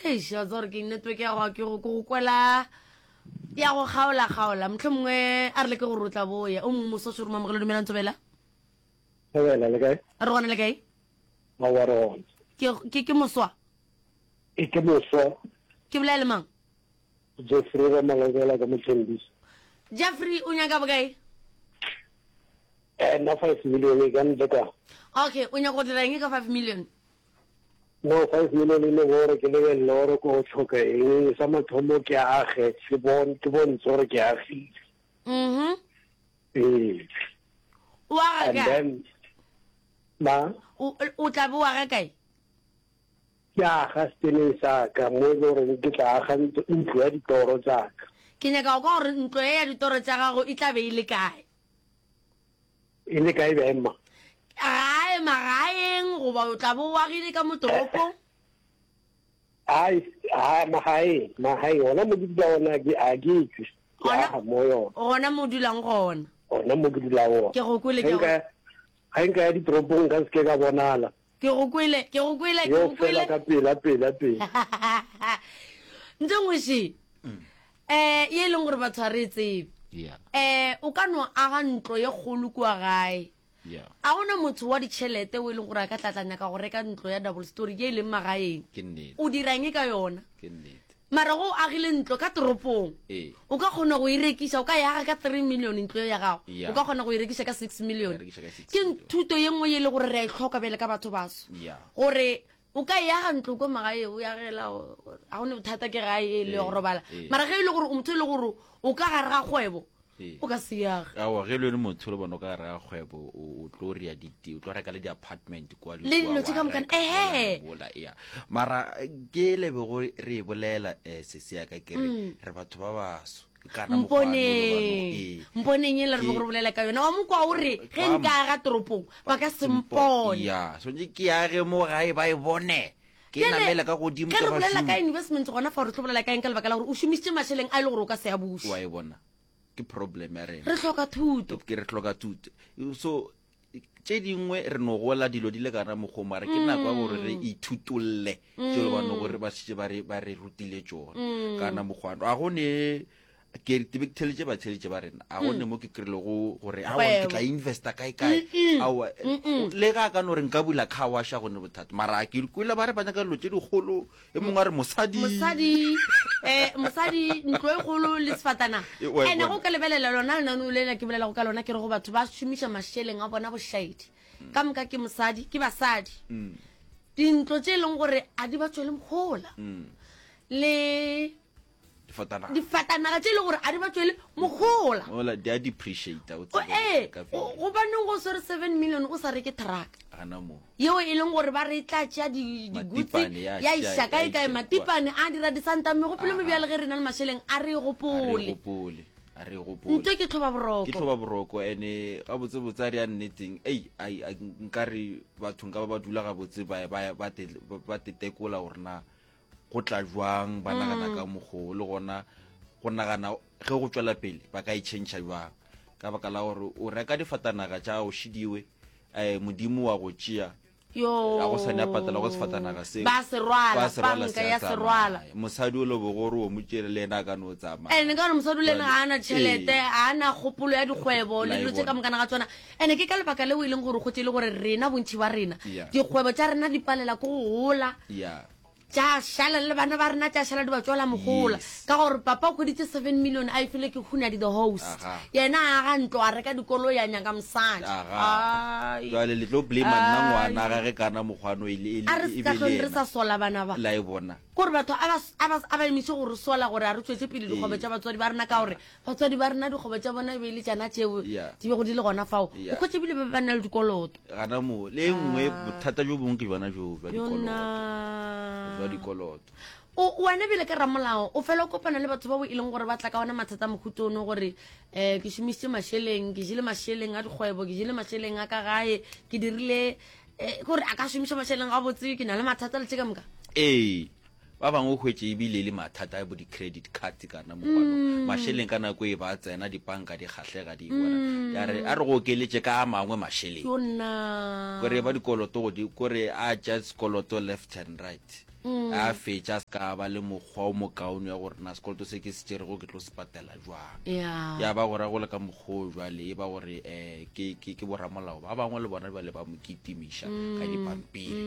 Eish, wa tseba gore ke network ya go ke go ke go kwela ya go kgaola kgaola. Mohlomongwe a re leke gore o tla boya. O mongwe moso šoro mamogelo dumelang Thobela. Thobela le kae? Re gona le kae? Aowa re gona. Ke ke ke moswa. E ke moswa. Ke bolela le mang? Jeffrey Ramalobela ka Mothembisa. Jeffrey o nyaka bokae? Eh nna 5 million e ka ntle ka. Okay, o nyaka go dira eng ka 5 million? No 5 million e le gore ke lebelele gore ko tlhoka eng sa mathomo ke age ke bon ke bontshe gore ke agile. Mhm. Ee. O aga And kae? then ma O o tla be o aga kae? Ke aga seteneng sa ka mo e le goreng ke tla aga ntlo ya ditoro tsa ka. Ke nyaka go kwa gore ntlo ye ya ditoro tša gago e tla be e le kae. E le kae bjang, mma? Gae, magaeng, goba o tla be o agile ka mo toropong? Ai, a, magaeng, magaeng, gona mo ke dula gona, ke, a ke tšwe, ke aga mo yona. Gona mo o dulang gona. Gona mo ke dulang gona. Ke go kwele, ke go. Ge nka ya ditoropong nka se ke ka bonala. Ke go kwele, ke go kwele, ke go Yo kwele. fela ka pela, pela, pela. Ntho nngwe še, eh, ye e leng gore batho ga re e tsebe. Yeah. Eh, o ka no aga ntlo ye kgolo kua gae. Yeah. A gona motho wa ditšhelete o e leng gore a ka tla tla nyaka go reka ntlo ya double story ye e leng magaeng. Ke nnete. O dira eng ka yona? Ke nnete. Mara go o agile ntlo ka toropong, Ee. o ka kgona go e rekiša, o ka e aga ka 3 million ntlo eo ya gago, Ya. o ka kgona go e rekiša ka 6 million. Ya rekiša ka 6 Ke million. thuto ye nngwe ye e le gore re a e hloka bjale ka batho baso. Ya. Gore o ka e aga ntlo ko magae, o e agela, ga go ne bothata ke gae e le ya go Ee, robala. ee. Mara ge e le gore o motho e le gore o ka gare ga kgwebo, Ee. o ka se e age. Aowa, ge e le wena motho le bona o ka gare ga kgwebo, o, o tlo rea di, o tlo reka le di-apartment kwa Le dilo tše ka wa moka, reka ehe. mola, mola, ea. Mara ke le bego re e bolela, eh, sesi ya ka, ke re, Mm. re batho ba baso. Ke kana mokgwa wa no, Mponeng. ee. Mponeng e le re Ke- bego re bolela ka yona. Wa mo kwa o re, ge Wa nka aga toropong, ba ka se mpone. Ya, swantše ke age mo gae ba e bone. Ke Bjale, namele ka godimo ge ka re bolela ka bašomi. investment gona fa re tlo bolela ka eng ka lebaka la gore o šomišitše mašeleng a e le gore o ka se a buše. Wa e bona. Ke problem ya rena. Re hloka thuto. Ke re hloka thuto. So tše dingwe re no gola dilo di le kana mokgwa mara ke nako ya gore re ithutolle tše le bano gore ba šetše ba re ba re rutile tšona kana mokgwa a go ne ke ke be ke theletše batheletše ba rena a go ne mo ke kry-ilego gore aowa ke tla investa kae kae aowa le ga a ka no re nka bula car wash a go ne bothata mara a ke kwele ba re ba nyaka dilo tše dikgolo e mongwe a re mosadi mosadi eh mosadi ntlo e kgolo le sefatanaga E, wa e ene bona. go ka lebelela lona lenaneo lena ke bolelago ka lona ke re go batho ba šomiša mašeleng a bona bošaedi ka moka ke mosadi ke basadi dintlo tše e leng gore a di ba tšwele mohola le difatanaga difatanaga tše e le gore a di ba tšwele mohola mola di a depreciate o O- tsebe ee ka value. gobaneng go swere 7 million o sa reke truck gana mo yeo e leng gore ba re e tla tšea di- digutse Matipane ya ya tšea- iša ya kae kae iša matipane a dira disanta megopolo Aha. mebjale ge re na le mašeleng a re e a re gopole gopole a re gopole nto ke tlhoba ke boroko tlhoba boroko ene gabotsebotse a re ya nneteng ei ai, ai, nkare batho nka ba ba dula gabotse ba ba- ba te- ba tetekola gore na go tla jwang ba nagana ka mokgo le gona go nagana ge go tšwela pele ba ka e tšhentšha jwang ka baka la gore o reka difatanaga tša gago šidiwe um modimo wa go tšea yo a go sa ne a patela go sefatanaga seo ba se rwala Ba se rwala, banka se a ya se rwala tsamaya. mosadi o lebogo gore o mo tšere le ena a ka no tsamaya ene ka gore mosadi o le ena ga a na tšhelete Ee. ga a na kgopolo ya dikgwebo le La e dilo tše bona. ka mokana ga tsona ene ke ka lebaka leo e leng gore go tse e le gore rena bontši ba rena Yeah. dikgwebo tša rena di palela ke go gola ya tša šala le bana ba rena tša šala di ba tswela mogola Yes. ka gore papa o hweditše 7 million a e file ke hunadi the host Aga. yena a aga ntlo a reka dikoloi a nyaka mosadi Aga. Ai. jale le tlo blame nna Ai. ngwana ga ge kana mokgwano e le- e le- a re e se ka be le hlong re yena. sa sola bana ba la e bona kore batho a ba- a ba- a ba emiše go re sola gore a re tšwetše pele dikgwebo Ee. tša batswadi ba rena ka gore batswadi ba rena dikgwebo tša bona e be e le tšana tšeo Yeah. di bego di le gona fao o Yeah. kgwetše bile ba ba na le dikoloto gana moo le e nngwe bothata jo bongwe ke jona joo jwa dikoloto yona jwa dikoloto o wena bile ka ramolao o fela o kopana le batho bao e leng gore ba tla ka ona mathata a mohuta ono gore um ke šomišitše mašeleng ke jele mašeleng a dikgwebo ke jele mašeleng a ka gae ke dirile um kore a ka šomiša mašeleng gabotse ke na le mathata le tše ka moka ee Ba bangwe o hwetše ebile e le mathata a bo di-credit card kana mokwano. Mm. Mašeleng ka nako e ba tsena dipanka di kgahlega di bona. Mm. Ya re a re go okeletše ka a mangwe mašeleng. Yona. Kore ba dikoloto go di kore a tša sekoloto left and right. A fetša a se ka ba le mokgwa o mokaone wa gore na sekoloto se ke se tšerego ke tlo se patela jwang. Yeah. Ya ba gore go le ka mokgwa o jwale e ba gore um ke, ke, ke boramolao ba bangwe le bona bjale ba mo kitimiša ka dipampiri.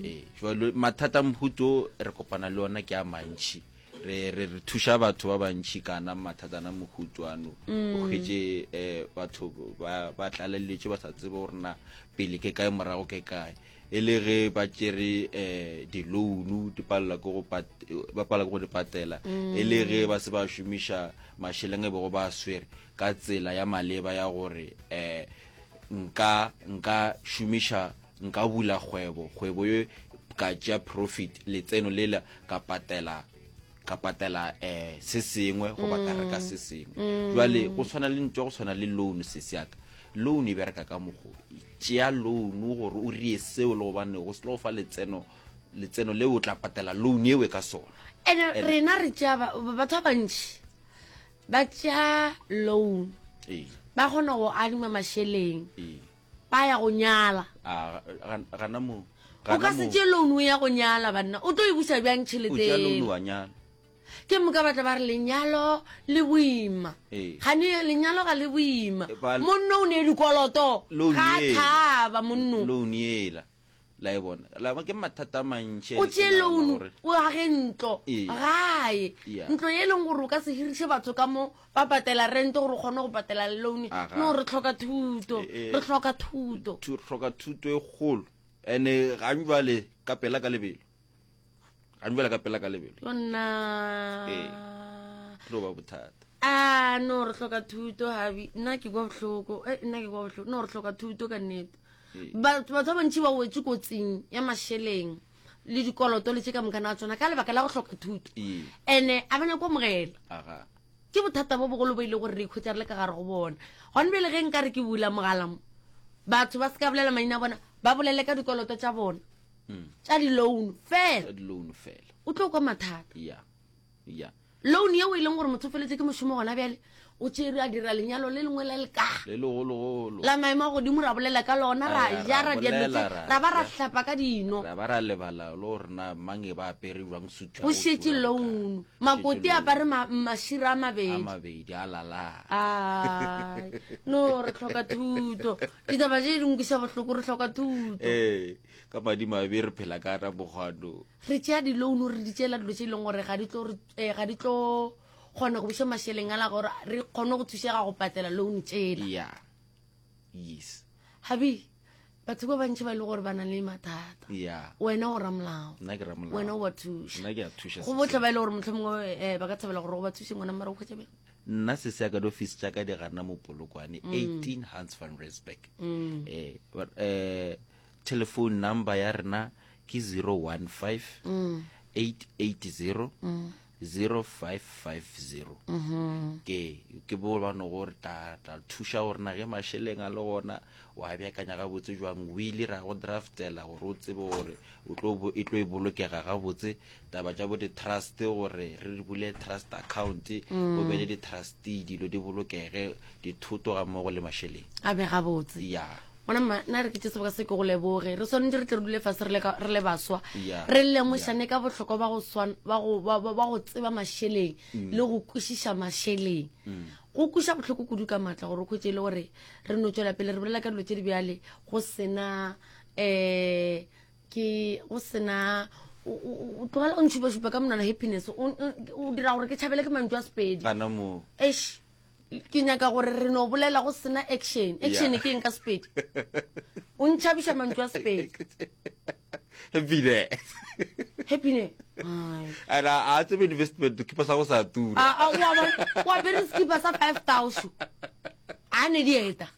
Ee, jwale mathata a mohuto re kopana le ona ke a mantši. Re, re, re thuša batho ba bantši kana mathatana mohuto ano. O hwetše um batho ba, ba tlaleletše ba sa tsebe gore na pele ke kae morago ke kae. E le ge ba tšere um di-loan di palela ke go ba palela ke go di patela, e le ge ba se ba šomiša mašeleng e bego ba a swere ka tsela ya maleba ya gore um nka nka šomiša nka bula kgwebo, kgwebo ye ka tšea profit letseno lela ka patela ka patela um se sengwe goba ka reka se sengwe. Jwale go tshwana le ntho ya go tshwana le loan sesi ya ka, loan e bereka ka mokgo, tšea loan gore o rie seo le gobane go se tlo go fa letseno, letseno leo o tla patela loan eo ka sona. Ene rena re tšea batho ba bantši ba tšea loan, ba kgona go adima mašeleng. Ba ya go nyala. A, gana mo. O ka se tšee loan o ya go nyala banna. O tlo e buša bjang tšhelete? O tšea loan wa nyala. Ke moka ba tla ba re lenyalo le boima. Gane lenyalo ga le boima. Monno o ne dikoloto. Ga thaba monno. Loan yela. La e bona. La ke mathata a mantši. O tšee loan o age ntlo gae. Ntlo e leng gore o ka se hiriše batho ka mo ba patela rente gore o kgone go patela loan. No re hloka thuto. Re hloka thuto. Re hloka thuto e kgolo. Ene ga jwale ka pela ka lebelo. Ga jwale ka pela ka lebelo. Yona. Ee. Tlo ba bothata. A no re hloka thuto habi. Nna ke kwa bohloko. Eh nna ke kwa bohloko. No re hloka thuto ka nnete. Batho ba bantši ba wetše kotsing ya mašeleng le dikoloto le tše ka moka na tsona ka lebaka la go hloka thuto. Ene a ba nyako amogela. Ke bothata bo bogolo bo ile gore re ikhwetša re le ka gare go bona. Gone bjale ge nka re ke bula mogala mo, batho ba se ka bolela maina a bona, ba bolele ka dikoloto tša bona tša di-loan fela. Tša di-loan fela. O tlo kwa mathata. Ya. Ya. Loan yeo e leng gore motho o feletse ke mošomo gona bjale, o tšere a dira lenyalo le lengwe la leka. Le legologolo. La maemo a godimo ra bolela ka lona, ra ja, ra dira dilo tše, ra ba ra hlapa ka dino. Ra ba ra lebala le gore na mang e ba apere jwang sutu ya Go go šetše tura loan. bokae. Makoti a apare mašira a mabedi. A mabedi, a lala. Ai, no re hloka thuto. Ditaba tše di nkweša bohloko, re hloka thuto. Ee, ka madimabe re phela ka ramokgwano. Re tšea di-loan re di tšeela dilo tše e leng gore ga di tlo re, eh, ga di tlo kgona go buša mašeleng ala gore re kgone go thušega go patela loan tšela. Yeah. Yes. Habi, batho ba bantši ba e le gore ba na le mathata. Yeah. Wena o ramolao. Nna ke ramolao. Wena o ba thuša. Nna ke a thuša. Go bohle ba e le gore mohlomongwe, eh, ba ka thabela gore o ba thuše ngwana mara o hwetša bjang? Nna se se ya ka diofisi tša ka di gana mo Polokwane, 18 Hans van Rensburg. Eh, eh, telephone number ya rena ke 015 880 0550. Ke ke bo ba no gore tla tla thuša gore na ge mašeleng a le gona wa beakanya gabotse jwang wili ra go draftela gore o tsebe gore o tlo e tlo e bolokega gabotse taba tša bo di-trust gore re bule trust account o be le di-trustee dilo di bolokege dithoto ga mmogo le mašeleng a be gabotse ya Gona mma, nna re ke tše seboka se ke go leboge. Re swanetše re tle re dule fase re le ka, re le baswa. Yeah. Re lemošane ka bohlokwa ba go swan, ba go, ba, ba, ba go tseba mašeleng le go kwešiša mašeleng. Go kweša bohloko kudu ka matla gore o hwetše e le gore re no tšwela pele re bolela ka dilo tše di bjale go sena um ke go sena o, o, o tlogela o ntšhupašupa ka monwana happiness o, o, o dira gore ke tšhabele ke mantšu a Sepedi. Gana moo. Eish. Ke nyaka gore re no bolela go sena action. Action ke eng ka Sepedi? O ntšhabiša mantšu a Sepedi. Happiness. Happiness. And a tsebe investment kipa sa go sa tura. A a wa bona wa apere skipa sa 5000. A ne dieta.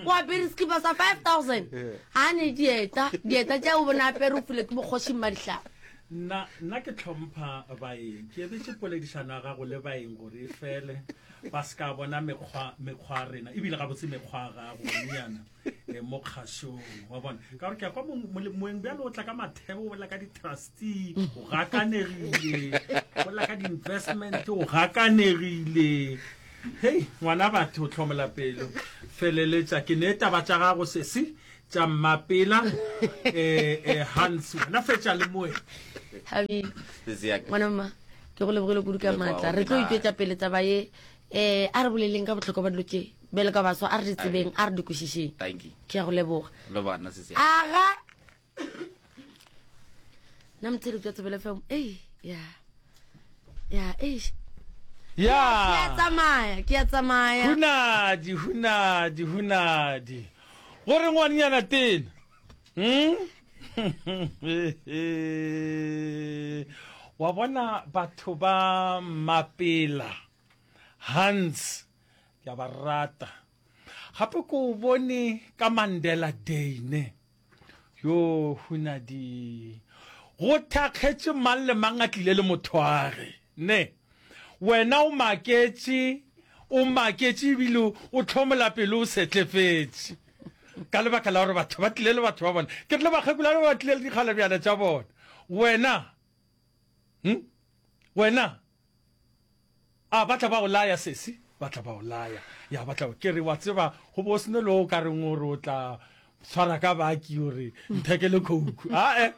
O apere skipa sa 5000. A ne dieta, dieta tša o bona apere o file ke bokgoši Mmadihlaba. Nna, nna ke hlompha baeng. Ke emetše poledišano ya gago le baeng gore e fele, ba se ka bona mekgwa, mekgwa ya rena, ebile gabotse mekgwa ya gago, ngwanenyana, eh, mo kgašong, wa bona. Ka gore ke a kwa mong, mole, moeng bjalo o tla ka mathebo, o bolela ka di-trustee, o gakanegile, o bolela ka di-investment, o gakanegile. Hei, ngwana batho, o hlomola pelo. Feleletša, ke ne taba tša gago, sesi. tša Mmapela eh, eh, Hans wena fetša le moe. Habi ngwana mma ke go lebogile kudu ka maatla re tlo itšwetša pele taba ye um a re boleleng ka bohlokwa ba dilo tše bjale ka baswa a re di tsebeng a re di kwešišeng ke ya go leboga aga nna motheletši wa Thobela FM ei ya ya eish ya ke a tsamaya ke a tsamaya hunadi hunadi hunadi gore ngwanenyana tena hmm? wa bona batho ba mapela hans ke a ba rata gape ko o bone ka mandela day ne Yo hunadi. Go thakgetše mang le mang a tlile le mothwage. Ne. Wena o maketše, o maketše ebile o hlomola pelo o setlefetše. Ka lebaka la gore batho ba tlile le batho ba bona. Ke re le bakgekolwana ba tlile le dikgalabjana tša bona. Wena, hm? Wena, A ba tla ba o laya, sesi? Ba tla ba o laya. Ya, ba tla. Ke re, wa tseba, go bo sene le o ka reng o re o tla tshwara ka baki o re nthekele khouku. Ae,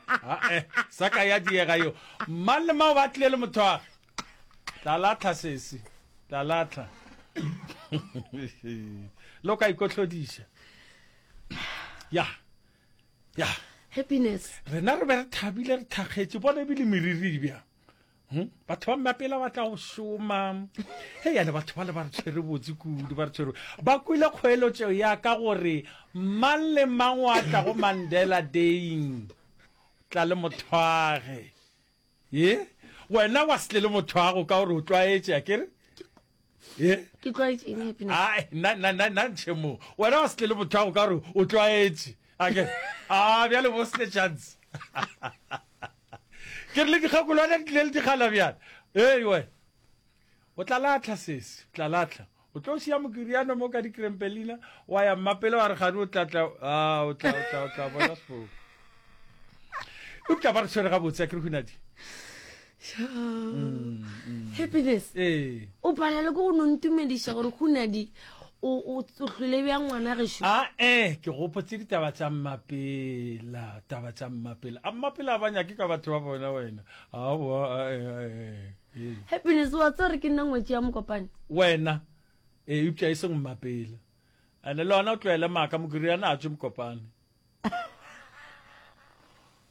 ae, sa ka ya diega yo. Mang le mang ba tlile le motho wa tla latlha sesi, tla latlha. Le o ka ikotlhodiša. Ya. Ya. Happiness. Rena re be re thabile re thakgetše bona ebile meriri bjang. Hmm? Batho ba mmapela ba tla go šoma. Hei ane batho ba le ba re tshwere botse kudu, ba re tshwere. Ba kwele kgoeletšo ya ka gore mang le mang wa tla go Mandela Daying. Tla le mothwage. Ye? Wena wa se tle le mothwago ka gore o tlwaetše, a kere? Ye? Ke tlwaetše eng happiness? Ai, nna nna nna nna ntšhe mo. Wena wa se tle le mothwago ka gore o tlwaetše. A kere? Ah, bjale bo se chance. Ke re le dikgakolwana di tlile le dikgala bjana. Ei we. O tla latlha sesi, o tla latlha. O tlo šia mokiriano mo ka dikrempelina, wa ya mmapele wa re gane o tla tla, ah, o tla, o tla, o tla bona sepoko. Eupša ba re tshwere gabotse, a ke re Hunadi. Mm, mm. Happiness. Ee. O palela ke go no ntumediša gore Hunadi o o hlwele bjang ngwana gešo. A e ke gopotse ditaba tša Mmapela, taba tša Mmapela. A Mmapela a ba nyake ka batho ba bona wena. Aowa a e a e. e. Happiness wa tseba gore ke nna ngwetši ya Mokopane. Wena e eupša e seng Mmapela. Ene le ona o tlohele maaka Mokiriana a tšwe Mokopane.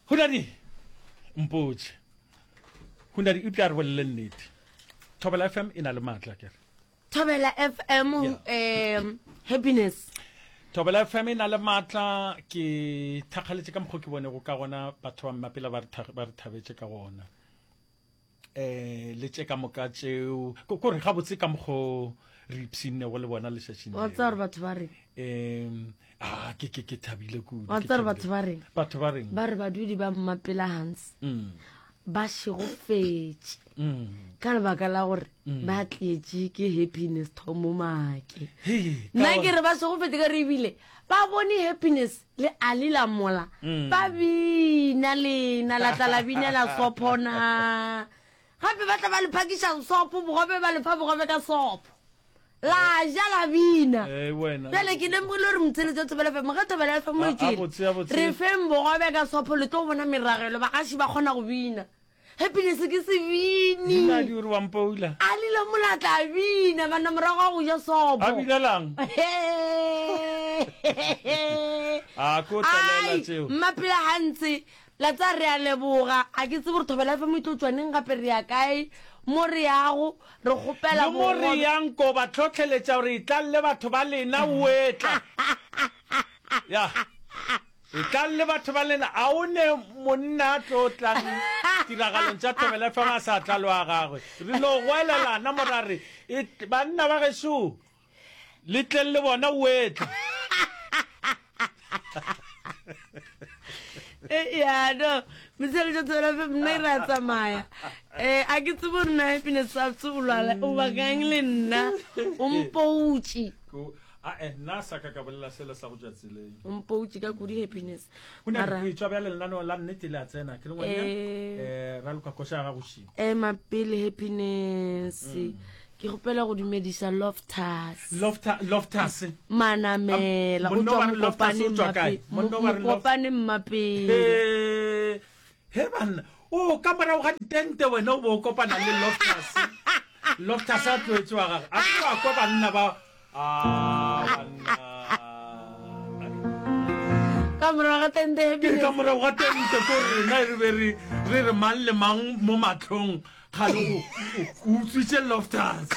Hunadi, mpotše. Hunadi, eupša re bolele nnete. Thobela FM e na le maatla kere. Thobela FM um happiness. Thobela FM e na le maatla ke thakgaletše ka mokgwa ke bonego ka gona batho ba mmapela ba re thabetše ka gona. Eh le tše ka moka tšeo ko re gabotse ka mokgo re ipshinnego le bona lešatšing wa tseba gore batho ba reng um a ke ke ke thabile kudu wa tseba gore batho ba reng batho ba reng ba re badudi ba mmapela hans mm. ba šegofetše mm. ka lebaka la gore mm. ba tletše ke happiness thomo make Hei, ka nna gore- ke re ba šegofetše ka re ebile ba bone happiness le ali la mola Mm. ba bina lena la tla la binela sopho na gape ba tla ba le phakiša sopho bogobe ba lefa bogobe ka sopho la ja la bina Eh, wena. bjale ke lemogile gore motshele tsa thobela fm ge thobela fm A- e a tšwele botse, a botse. re feng bogobe ka sopho le tlo bona meragelo bagaši ba kgona go bina happiness ke sebini Nna di ore wa mpoula. a lila mola tla bina banna morago ga go ja sopo A binelang? A ko tlelela Ai, tšeo. mmapela gantse la tsa re a leboga a ke tsebe gore thobela fm e tlo tšwaneng gape re ya kae mo re yago re kgopela Le mo re bogobe. yang ko ba hlohleletša gore etlang le batho ba lena o etla. Ya. Etlang le batho ba lena. A o ne monna a tlo tlang tiragalong tša Thobela FM a sa tla le wa gagwe? Re no goelelana mo ra re, Banna ba gešo, le tleng le bona o etla. Eh, ya no motshelo tša Thobela FM nna e re a tsamaya um a ke tsebe gore na happiness sa o lwala o bakang le nna o mpoutše Ae, nna sa ka ka bolela selo sa go tšwa tseleng. O mpoutše ka kudu happiness. Go na Mara le tšwa bjale lenaneo la nnete le a tsena. Ke le ngwanyana. Eh. Eh, raloka koša ya gago šimo. ema pele happiness. Ke kgopela go dumedisa Loftus. Lofta, Loftus. Manamela o Monna tšwa wa re Loftus Mokopane o tšwa kae? Mmape- Monna wa re Lof- Mokopane Mmapele. He, he banna. O ka morago ga ditente wena o bo o kopana le Loftus. Loftus a tloetše wa gagwe. A ke wa kwa banna ba Ah, banna. Ka morago ga tente ya Ke bile. ka morago ga tente ko rena re be re re re mang le mang mo matlhong Kgale o, o, o utswitše Loftus.